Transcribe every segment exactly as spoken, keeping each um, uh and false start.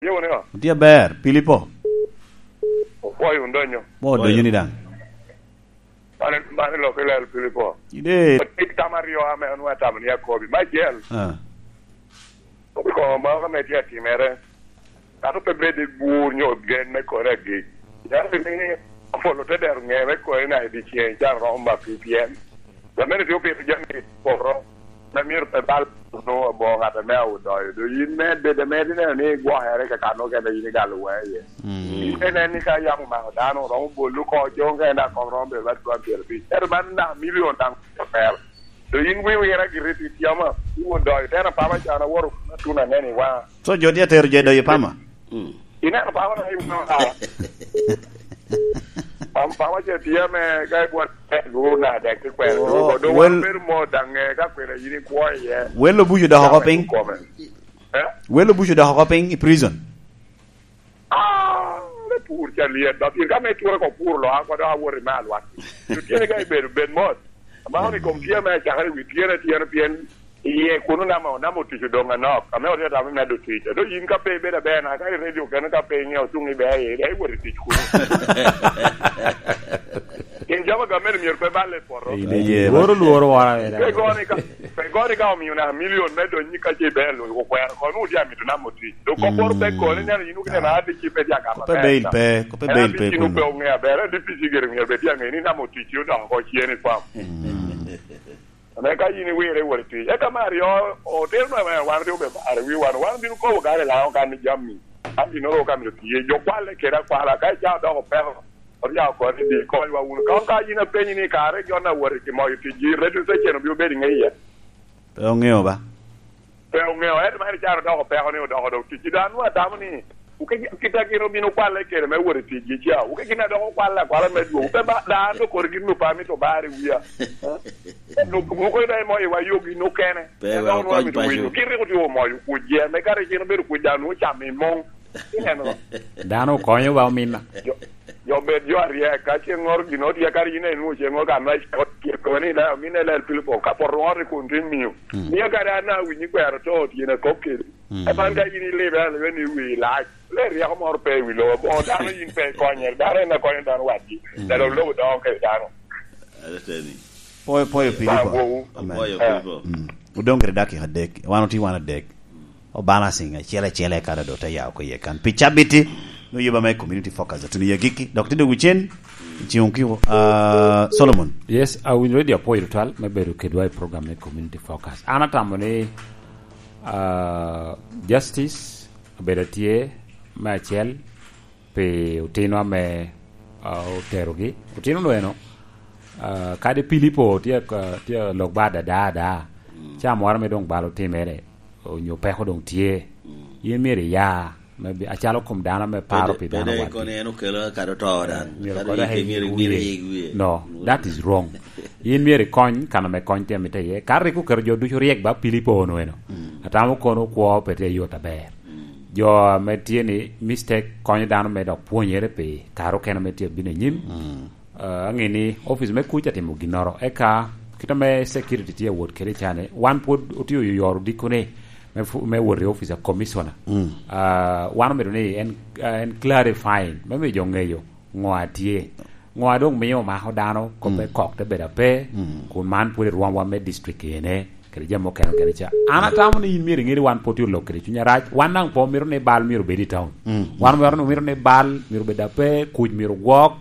Iwuno ni, otye aber, Pilipo. Opwoyo wun donyo. Mo donyo ni daŋ. Mano, mano lok i lel Pilipo. Ide. Tik tam aryo ame onwa tamo ni akobi. Me acel. Ah. Kobiko moro ame tye atimere. Kato pe bed i gur nyo gen me kore agik. Yalo ni apolo te dero ŋe me kore na i dyeceŋ can romo ma pi pien. Lamene tye opito jami i poto. Na myero pe bal no aboŋo ŋat ame aodoyo. Do yin me bedo ame ineno ni gwokere ka kano kene yin igalo weye. Mm. Yin inen ni ka yamo mako dano, romo bolo ko, coŋ kene daŋ kom romo bedo bad twan pyerabic. Ento man na milion daŋ oper. Do yin wi wira giri pi tyama, iwo doyo, tena pama can aworo atun aneni wa. So jo tye atero jo i doyo pama? Mm. Ineno pama na iwo na. Pam, pama ce tye me ka ibwot gu na dek ti kwero. Oh, do, do wan wel- bedo mo daŋ, eh, ka kwena yin ikwo iye. Wel obuco dok oko piny? Kome. Eh? Wel obuco dok oko piny i prison? Ah, me pur ca liet, ba pien ka me ture ko pur lo, an kode awot i me alwak. Otye ni ka ibedo, bed mot. Amako ni kom tye me acakere wi tyene, tyene pien iye kuno namo, namo tic odoŋ anok. Ame otye tamo me medo tic. Ado yin ka pe ibedo aber, na ka i redio kene ka pe iŋeo cuŋ ibe i, ibe iwot i tic kuno. Gin jami a gamente myero pe balle i poto. Ine, ye, lworo, lworo wora, eh, pe goni ka, pe goni ka omio na milion me donyi ka ce ibe lo, okwero, kono otye amito namo tic. Dok kop moro pe koni, neno yin okineno adi ci pe tye agamo. Kope bail pe, kope bail pe adi ci pe koni. Pe oŋe aber, adi pici gire myero bed tye aŋe ni namo tic ci odoko oko cien i fam. Mm. Ame ka yin iwire iwot i tic. Eka me aryo, otino na wan rik obe mare wi wan, wan bino kobo kare laŋo kan ni jami. An bino ro ka myero tiye, jo kwalle kede akwala, ka ica odoko peko, oryao koni di konywa wunu. Ka, ka yin apenyi ni kare jo na wot i moyo ticgi, radio station obino bedo i ŋe iye? Pe oŋeo ba? Pe oŋeo, ento man ican odoko peko ni odoko dok ticci. Dano nwa tamo ni, uke gin, kit a gin obino kwalle kede me wot i ticgi ca, uke gin a dok okwalle akwala me dwogo. Pe ba, dano dok kodi gin opa mito bar i wia. Nuk, nuk ida imo iwa yogi nukene. Pe wa okony paco. Gin rik otye omoyo kuc je, me kare gin obedo kuc dano ocamo i mong. Ineno? Dano okonyo ba ominna. Jo, jo bed jo aryek, ka ceng ŋor gin otye, kare yin enwoŋo ceng ŋor kan ma icako tyeko ni da, ominne lel Pilipo, ka poto ŋor i kun tin miyo. Mm. Mio kare an awinyi kwero to, tyena kop kedi. Mm. Eka man ka yin ilibe alibe ni wi lac, le ryeko moro pe i wi lobo, boŋo dano yin pe ikonyere, dano en akonya dano wadgi, mm, dano lobo doŋo kede dano. Ateteni. Pwoyo, pwoyo Pilipo. Amen. Pwoyo Pilipo. Mm. Odong kede dakika adek, wan otye wan adek. O balancing acel acel eka dodo te ya oko iye kan. Pi cabit-ti, nwoŋo yuba me community focus. Otuno i agikki, dok tye dog ocen, i ceŋ okiko, ah, Solomon. Yes, awinyo ready apwoyo tutwal me bedo kedwa i program me community focus. An atamo ni, ah, justice obedo atye me acel pi otino ame, ah, oterogi. Otino-nu eno, ah, kadi Pilipo tye ka, tye lok ba ada, ada, ada. Mm. Ca moro ame doŋ bal otimere, onyo peko doŋ tye. Mm. Yin myero iya, me bi-, acalo kom dano ame paro pi dano wadgi. Pede kono en okelo kadi oto dan. Eh, myero kadi kodi ike myero iwire. No, that is wrong. Yin myero ikony, kan ame kony tye amite iye. Ka rik oketo jo ducu ryek ba Pilipo ono eno. Mm. Atamo kono kwo pe tye yot aber. Mm. Jo ame tye ni mistake konyo dano me dok pwonyere pi kare okene ame tye bino i nyim. Mm. Ah, aŋe ni office me kuc atimo ginnoro. Eka, kit ame security tye awot kede cane, wan pwod otye oyoro dikkone me fu-, me wot i office a commissioner. Mm. Ah, wan omito ni en, ah, en clarifying, me miyo jo ŋeyo ŋo a tye. Ŋo a doŋ mio omako dano, kop me kok te bedo ape, kun man pwod irwomwa me district ene, kede jami mukene okene ca. An atamo ni in myero iŋe ni wan pwod tye olok kede cuny arac, wan daŋ pe omito ni bal myero obed i town. Mm. Wan omito, omito ni bal myero obed ape, kuc myero gwok,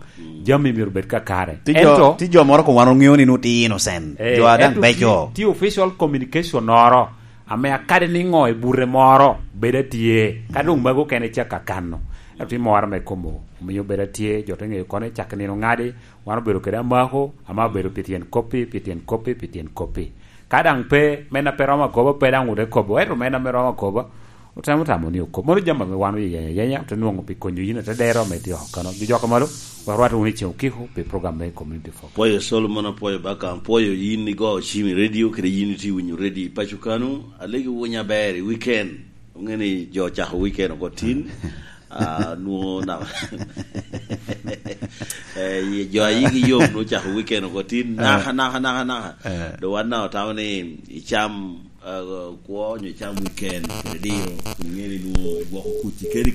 jami myero obed kakare. Tye jo, ento tye jo moro koŋ wan oŋeo ni nwoŋo tye innocent. Eh, jo a daŋ ento beco. Tye, tye official communication noro ame akadi ni ŋo i bute moro bedo atye, ka doŋ mago okene cak akano. Ento tye moro ame komo omiyo bedo atye, jo te ŋeyo kono i cak nino ŋadi, wan obedo kede amako, ama obedo pi tyen koppi, pi tyen koppi, pi tyen koppi. Ka daŋ pe, men a pe romo akobo, pe daŋ wot ekobo, ento men ame romo akobo, otemo tamo ni okob. Mano jami ame wan oyeyo ayenya, ote nwoŋo pi konyo yin, ate dero ame tye oko kano. Jojok a malo, warwat wunu i ceŋ okiko pi program me Community Focus. Pwoyo Solomon, apwoyo Baka, apwoyo yin igo cim i radio, kede yin itye winyo radio i paco kano, alegi wunya aber i weekend. Onge ni jo ocako weekend oko tin, ah, nwoŋo na-, eh, ye jo a yigi yom nwoŋo ocako weekend oko tin, naka, naka, naka, naka. Eh. Do wan na otamo ni icam, ah, kwo nyo icam weekend, kede diro, kun inge ni nwoŋo igwoko kuc i keni